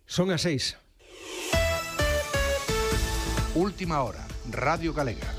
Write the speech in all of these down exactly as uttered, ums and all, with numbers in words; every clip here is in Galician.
Son as seis. Última hora, Radio Galega.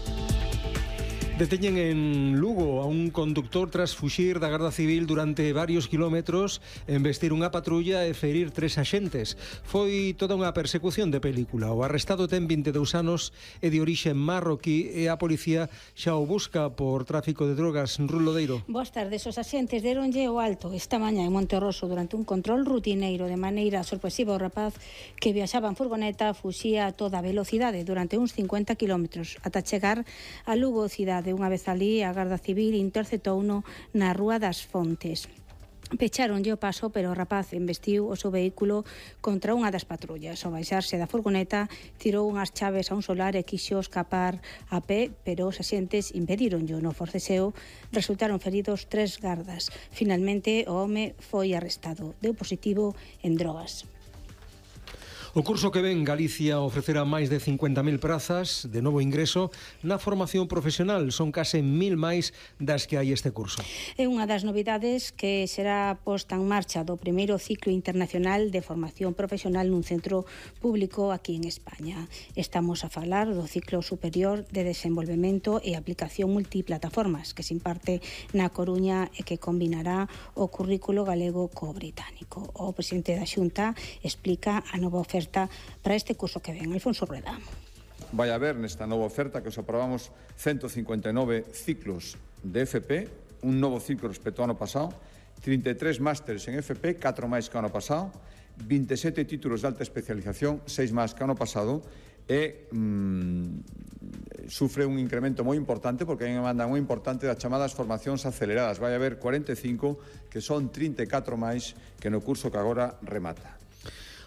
Deteñen en Lugo a un conductor tras fuxir da Garda Civil durante varios kilómetros, embestir unha patrulla e ferir tres axentes. Foi toda unha persecución de película. O arrestado ten vinte e dous anos e de orixe marroquí e a policía xa o busca por tráfico de drogas. Rulo Deiro. Boas tardes. Os axentes deronlle o alto esta mañá en Monterroso durante un control rutineiro de maneira sorpresiva ao rapaz que viaxaba en furgoneta fuxía a toda velocidade durante uns cincuenta kilómetros ata chegar a Lugo cidade. Unha vez ali, a Garda Civil interceptouno na Rúa das Fontes. Pecharonlle o paso, pero o rapaz embestiu o seu vehículo contra unha das patrullas. Ao baixarse da furgoneta, tirou unhas chaves a un solar e quixo escapar a pé, pero os axentes impedíronllo. No forceseo resultaron feridos tres gardas. Finalmente, o home foi arrestado. Deu positivo en drogas. O curso que ven, Galicia ofrecerá máis de cincuenta mil prazas de novo ingreso na formación profesional. Son case mil máis das que hai este curso. É unha das novidades que será posta en marcha do primeiro ciclo internacional de formación profesional nun centro público aquí en España. Estamos a falar do ciclo superior de desenvolvemento e aplicación multiplataformas que se imparte na Coruña e que combinará o currículo galego co británico. O presidente da Xunta explica a nova oferta para este curso que ven. Alfonso Rueda. Vai haber nesta nova oferta que os aprobamos ciento cincuenta e nove ciclos de F P, un novo ciclo respecto ao ano pasado, trinta e tres másteres en F P, catro máis que o ano pasado, vinte e sete títulos de alta especialización, seis máis que o ano pasado, e mmm, sufre un incremento moi importante porque hai unha demanda moi importante das chamadas formacións aceleradas. Vai haber cuarenta e cinco, que son trinta e catro máis que no curso que agora remata.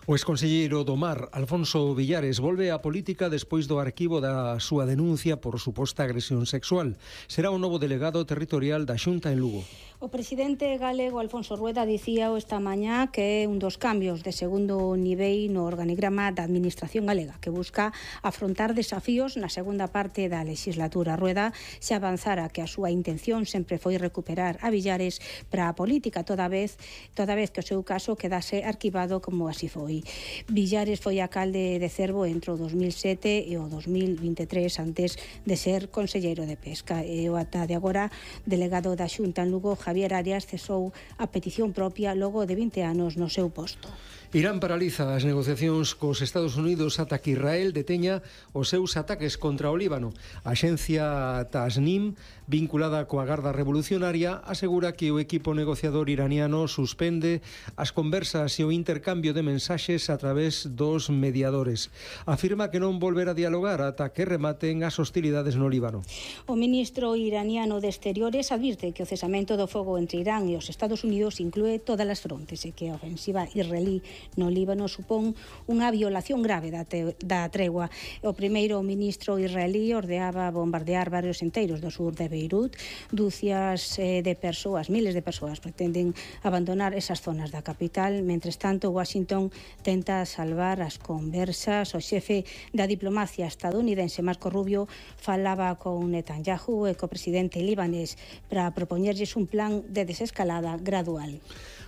O exconselleiro do Mar, Alfonso Villares, volve á política despois do arquivo da súa denuncia por suposta agresión sexual. Será o novo delegado territorial da Xunta en Lugo. O presidente galego Alfonso Rueda dicía esta mañá que é un dos cambios de segundo nivel no organigrama da Administración galega, que busca afrontar desafíos na segunda parte da legislatura. Rueda se avanzara que a súa intención sempre foi recuperar a Villares para a política, toda vez, toda vez que o seu caso quedase arquivado como así foi. Villares foi alcalde de Cervo entre o dos mil sete e o dos mil vinte e tres antes de ser conselleiro de Pesca. E o ata de agora delegado da Xunta en Lugo, Javier Arias, cesou a petición propia logo de vinte anos no seu posto. Irán paraliza as negociacións cos Estados Unidos ata que Israel deteña os seus ataques contra o Líbano. A axencia Tasnim, vinculada coa Garda Revolucionaria, asegura que o equipo negociador iraniano suspende as conversas e o intercambio de mensaxes a través dos mediadores. Afirma que non volverá a dialogar ata que rematen as hostilidades no Líbano. O ministro iraniano de Exteriores advirte que o cesamento do fogo entre Irán e os Estados Unidos inclúe todas as frontes e que a ofensiva israelí no Líbano supón unha violación grave da, te, da tregua. O primeiro ministro israelí ordeaba bombardear barrios enteiros do sur de Beirut. Dúcias eh, de persoas, miles de persoas pretenden abandonar esas zonas da capital. Mentres tanto, Washington tenta salvar as conversas. O xefe da diplomacia estadounidense, Marco Rubio, falaba con Netanyahu e co presidente libanés para propoñerlles un plan de desescalada gradual.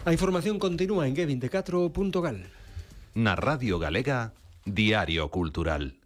A información continúa en G veinticuatro punto gal. Na Radio Galega, Diario Cultural.